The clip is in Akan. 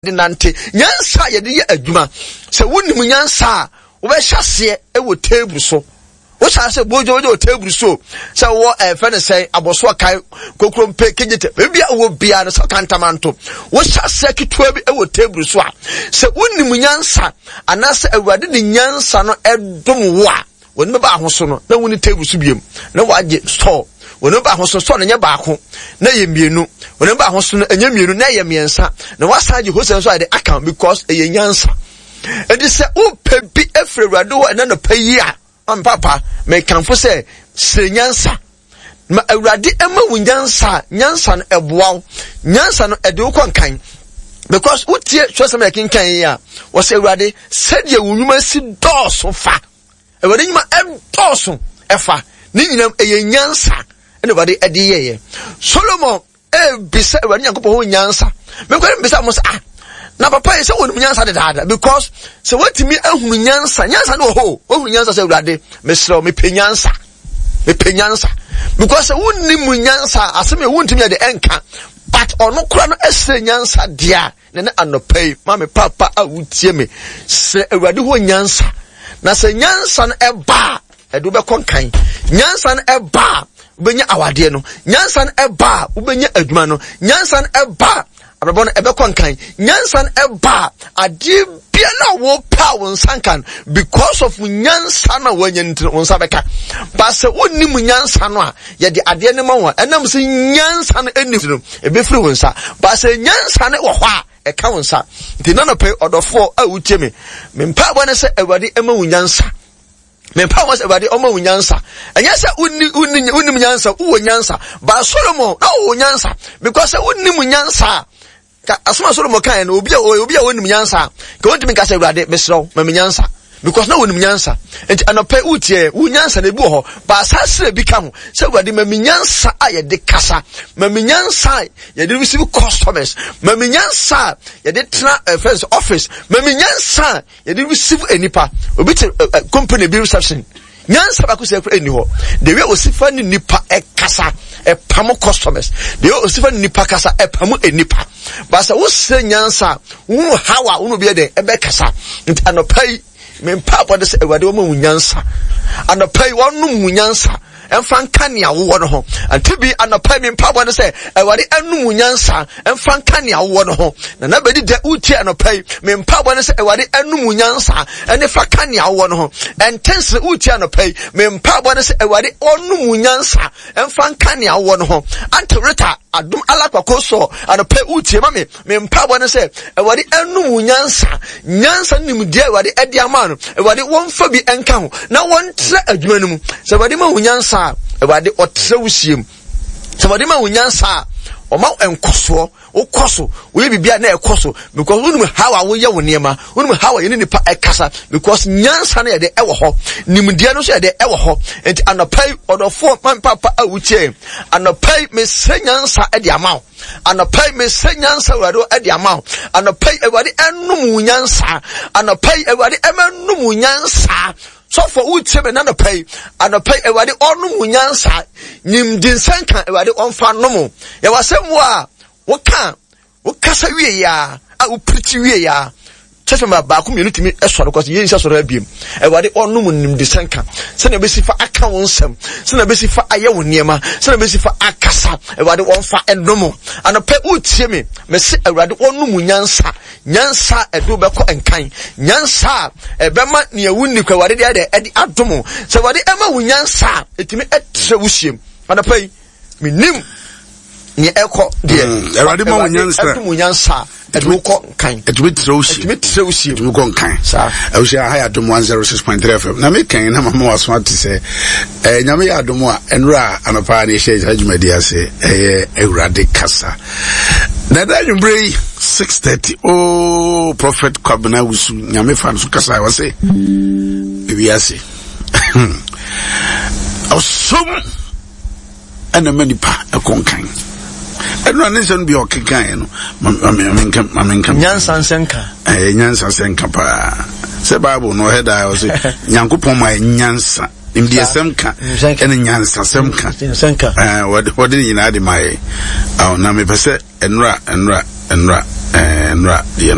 De nante. Nyansa a yɛde yɛ adwuma. Sɛ wonim nyansa a, wobɛhyɛ aseɛ wɔ table so. Wohyɛ ase bogya wɔ table so. Sɛ wɔ ɛfɛ ne sɛn abɔsoɔ kan kokrompe kegyete baabi a wɔ biara no sɛ kantamanto. Wohyɛ aseɛ ketewa bi wɔ table so a, sɛ wonim nyansa anaasɛ Awurade de nyansa no ɛdom wo a, Wɔn bɛba ahoso no na wonni table so biom na wɔagye store. Wɔn bɛba ahoso store no nyɛ baako na ɛyɛ mmienu. Wɔn bɛba ahoso no ɛnyɛ mmienu na ɛyɛ mmiɛnsa na wɔasan agye hosɛ nso ayɛ de aka because ɛyɛ nyansa. Ɛnti sɛ wopɛ bi afiri Awurade hɔ ɛna nɔpɛ yi a, ɔmpapa mekamfo sɛ srɛ nyansa. Ma Awurade ɛma wo nyansa a, nyansa no ɛboa wo. Nyansa no ɛde wo kɔ nkan. Because wotie twerɛsɛm a yɛkenkan yi a, wɔsɛ Awurade sɛdeɛ wo nnwuma si dɔɔso fa. Awurade nnwuma ɛdɔɔso ɛfa. Ne nyinam ɛyɛ nyansa ɛna Awurade ɛde yɛeɛ. Solomon ɛrebisa Awurade Nyankopɔn ho nyansa. Mekɔ ne mbisa mo sɛ ah na papa yi sɛ wɔnim nyansa dedaada because sɛ wɔatumi ahunu nyansa nyansa no wɔ hɔ wɔahunu nyansa sɛ Awurade mesrɛ wo mepɛ nyansa mepɛ nyansa because sɛ wonni mu nyansa asɛm yɛ wontumi yɛ de ɛnka but ɔno kora no ɛsrɛ nyansa deɛ a na ne anɔpa yi ma me papa a wotie me srɛ Awurade hɔ nyansa na sɛ nyansa no ɛba a ɛde wobɛkɔ nkan nyansa no ɛba a wobɛnya awadeɛ no nyansa no ɛba a wobɛnya adwuma no nyansa no ɛba a abrabɔ no ɛbɛkɔ nkan nyansa no ɛba a adeɛ biara a wɔpɛ a wo nsa nka no because of nyansa no a wɔanya no nti wo nsa bɛka ba sɛ wonnim nyansa no a yɛde adeɛ no ma wo a ɛnam sɛ nyansa no ɛni no ɛbɛfiri wo nsa ba sɛ nyansa no wɔ hɔ a ɛka wo nsa nti nanɔpɛ ɔdɔfoɔ a wotie me me mpaebɔ ne sɛ awurade ɛma wo nyansa mempa wɔn sɛ awurade ɔma wo nyansa ɛnyɛ sɛ wonni wonni wonnim nyansa wowɔ nyansa ba solomon na ɔwɔ nyansa because sɛ wonnim nyansa a ka asoma solomon kae no obi a obi a wɔnim nyansa a ka wɔntumi nka sɛ awurade mesrɛ wo ma me nyansa because na wɔnim nyansa nti anɔpɛ wotie wo nyansa na ebi wɔ hɔ baasa srɛ bi ka ho sɛ awurade ma me nyansa a yɛde kasa ma me nyansa a yɛde receive customers ma me nyansa a yɛde tena uh, friends office ma me nyansa a yɛde receive nipa obi te eh, eh, company bi reception nyansa baako sɛ ɛkura ɛni hɔ the way osi fa ne nipa ɛkasa ɛpam customers the way osi fa ne nipa kasa ɛpam nipa baasa wosɛ nyansa wunu how a wunu bi yɛ dɛ ɛbɛkasa nti anɔpa yi mpa abɔde sɛ awurade wɔn mu nyansa anɔpa yi wɔn mu nyansa. Ɛmfa nka nea wowɔ no ho. Ante bi anɔpa yi me mpaebɔ ne sɛ, Awurade anom wo nyansa ɛmfa nka nea wowɔ no ho. Na na bɛdi dɛ wotie anɔpa yi, me mpaebɔ ne sɛ, Awurade anom wo nyansa ɛne fa ka nea wowɔ no ho. Ɛnte nsere wotie anɔpa yi, me mpaebɔ ne sɛ, Awurade ɔnom wo nyansa ɛmfa nka nea wowɔ no ho. Ante Rita Adom Alakwako sɔ anɔpa yi wotie ma me, Me mpaebɔ ne sɛ, Awurade anom wo nyansa, nyansa ne nimdeɛ Awurade ɛde ama no, Awurade wɔmfa bi nka ho na wɔntrɛ adwuma no mu. Sɛ Awurade ma wo nyansa a, Awurade ɔtrɛ wo sie mu. Sɛ Awurade ma wo nyansa a, ɔma nkɔsoɔ, wokɔ so, woyɛ biribi a na ɛkɔ so because wonim how a woyɛ wo nneɛma, wonim how a yɛne nipa ɛkasa because nyansa no yɛde ɛwɔ hɔ, nimdeɛ no nso yɛde ɛwɔ hɔ. Nti anɔpa yi, ɔdɔfoɔ man papa a wotie, anɔpa yi mesrɛ nyansa ɛde ama wo. Anɔpa yi mesɛ nyansa Awurade ɛde ama wo. Anɔpa yi Awurade ɛnum wo nyansa. Anɔpa yi Awurade ɛmɛ num wo nyansa. Sɔfo wotie me nanɔpa yi. Anɔpa yi Awurade ɔnum wo nyansa. Nimdi nsɛnka Awurade ɔnfa nom. Yɛwɔ asɛm mu a woka wokasa wie ya a wopirikyi wie ya church member baako mmienu tumi sɔre kɔ sɛ yɛnhyɛ sɔre abiem awurade ɔnom nimdesɛnka sɛnea ɛbɛsi fa aka wo nsɛm sɛnea ɛbɛsi fa ayɛ wo nneɛma sɛnea ɛbɛsi fa akasa awurade wɔmfa ɛnom anɔpɛ wotie me mese awurade ɔnom nyansa nyansa a ɛde wobɛkɔ nkan nyansa a ɛbɛma nea wonni kɔ awurade deɛ ɛde adom sɛ awurade ɛma wo nyansa a ɛtumi ɛtrɛ wo hyiam anɔpɛ yi menim nea ɛkɔ deɛ mm, awurade ma wo nyansa ɛdum wo nyansa ɛde wo kɔ nkan ɛtumi trɛ wo sie ɛtumi trɛ wo sie ɛtumi kɔ nkan saa ɛwusia ha yɛ adum 106.3 fm na mekɛn na mama waso ate sɛ ɛɛ nyame yɛ adum a ɛnura anɔpa ne ɛhyɛ saa dwumadi ase ɛyɛ awurade kasa na ɛda anwummerɛ yi 6:30 oh prophet kwabena wusu nyame fa no so kasa wɔse ewiase ɔsom ɛna ma nipa ɛkɔ nkan ɛno a ne nsɛm bi a ɔkekaeɛ no mamenka nyansa nsɛnka ɛyɛ nyansa nsɛnka paa sɛ bible no ɔhɛ daa ɔsɛ nyankopɔn ma nyansa nimdeɛsɛm ka ɛne nyansasɛm ka wɔde ne nyinaa de ma yɛ na mepɛ sɛ ɛnora ɛnora ɛnora. Ɛɛ nnora deɛ no.